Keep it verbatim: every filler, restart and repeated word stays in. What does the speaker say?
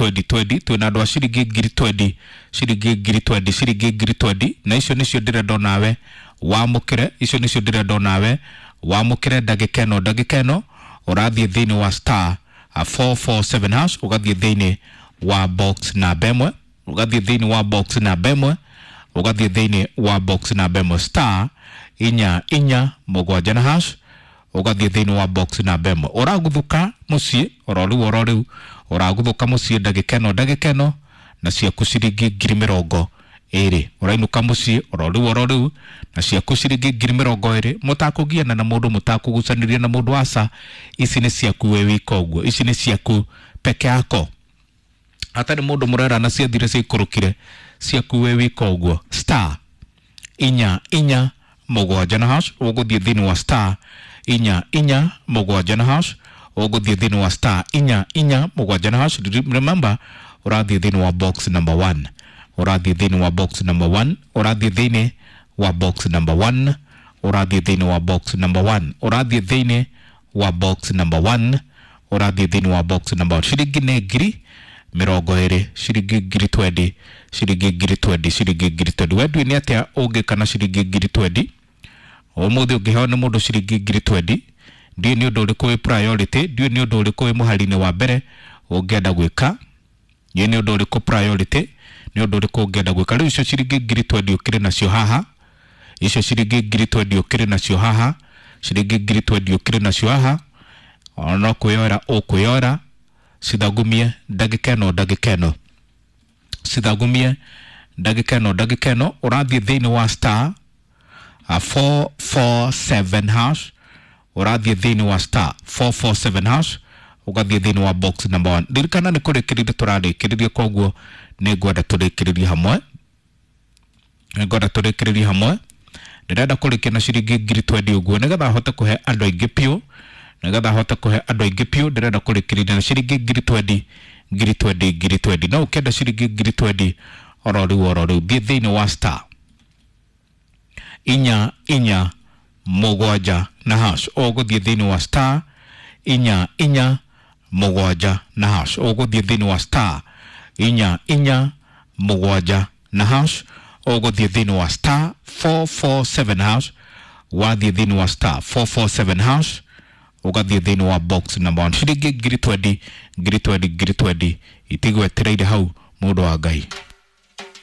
twenty twenty, twĩna andũ a ciringi ngiri twenty, ciringi ngiri twenty, ciringi ngiri twenty, na icio nĩcio ndĩrenda onawe wamũkĩre, icio nĩcio ndĩrenda onawe wamũkĩre ndagĩka ĩno, ndagĩka ĩno ũrathiĩ thĩinĩ wa star four four seven hash, ũgathiĩ thĩinĩ wa box namba ĩmwe, ũgathiĩ thĩinĩ wa box namba ĩmwe, ũgathiĩ thĩinĩ wa box namba ĩmwe, star inya inya mũgwanja na hash, ũgathiĩ thĩinĩ wa box namba ĩmwe. Ũraguthuka mũciĩ oro rĩu oro rĩu, ũraguthuka mũciĩ ndagĩka ĩno ndagĩka ĩno na ciaku ciringi ngiri mĩrongo ĩrĩ. Ũrainũka mũciĩ oro rĩu oro rĩu na ciaku ciringi ngiri mĩrongo ĩrĩ, mũtakũgiana na mũndũ, mũtakũgucanĩria na mũndũ, aca, ici nĩ ciaku wĩ wika ũguo, ici nĩ ciaku peke yako, hatarĩ mũndũ mũrerana ciathire ciaikũrũkire, ciaku wĩ wika ũguo. Star inya inya mũgwanja na hash, ũgũthiĩ thĩinĩ wa star inya inya mũgwanja na hash, ũgũthiĩ thĩinĩ wa star inya inya mũgwanja na hash. Remember, ũrathiĩ thĩinĩ wa box number one, ũrathiĩ thĩinĩ wa box number one, ũrathiĩ thĩinĩ wa box number one, ũrathiĩ thĩinĩ wa box number one, ũrathiĩ thĩinĩ wa box number one, ũrathiĩ thĩinĩ wa box number one. Ciringi nĩ ngiri mĩrongo ĩrĩ, ciringi ngiri twenty, ciringi ngiri twenty, ciringi ngiri twenty. We ndũĩ nĩ atĩa ũngĩka na ciringi ngiri twenty? Ũmũthĩ ũngĩheo nĩ mũndũ ciringi ngiri twenty, ndiũĩ nĩ ũndũ ũrĩkũ wĩ priority, ndiũĩ nĩ ũndũ ũrĩkũ wĩ mũhari-inĩ wa mbere ũngĩenda gwĩka, ndiũĩ nĩ ũndũ ũrĩkũ priority, nĩ ũndũ ũrĩkũ ũngĩenda gwĩka. Rĩu icio ciringi ngiri twenty ũkĩrĩ nacio haha, icio ciringi ngiri twenty ũkĩrĩ nacio haha, ciringi ngiri twenty ũkĩrĩ nacio haha, ona no kwĩyoera ũkwĩyoera, cithagumie ndagĩka ĩno ndagĩka ĩno, cithagumie ndagĩka ĩno ndagĩka ĩno. Ũrathiĩ thĩinĩ wa star four four seven hash, ũrathiĩ thĩinĩ wa star four four seven hash, ũgathiĩ thĩinĩ wa box number one. Ririkana nĩ kũrĩkĩrĩria tũrarĩkĩrĩria, koguo nĩ ngwenda tũrĩkĩrĩrie hamwe, nĩ ngwenda tũrĩkĩrĩrie hamwe. Ndĩrenda kũrĩkia na ciringi ngiri twenty ũguo nĩgetha hote kũhe andũ aingĩ piũ, nĩgetha hote kũhe andũ aingĩ piũ. Ndĩrenda kũrĩkĩrĩria na ciringi ngiri twenty, ngiri twenty, ngiri twenty. No ũkĩenda ciringi ngiri twenty oro rĩu oro rĩu, thiĩ thĩinĩ wa star inya inya mũgwanja na hash, ũgũthiĩ thĩinĩ wa star inya inya mũgwanja na hash, ũgũthiĩ thĩinĩ wa star inya inya mũgwanja na hash, ũgũthiĩ thĩinĩ wa star four four seven hash, wathiĩ thĩinĩ wa star four four seven hash, ũgathiĩ thĩinĩ wa box number one. Ciringi ngiri twenty, ngiri twenty, ngiri twenty itigwetereire hau, mũndũ wa Ngai.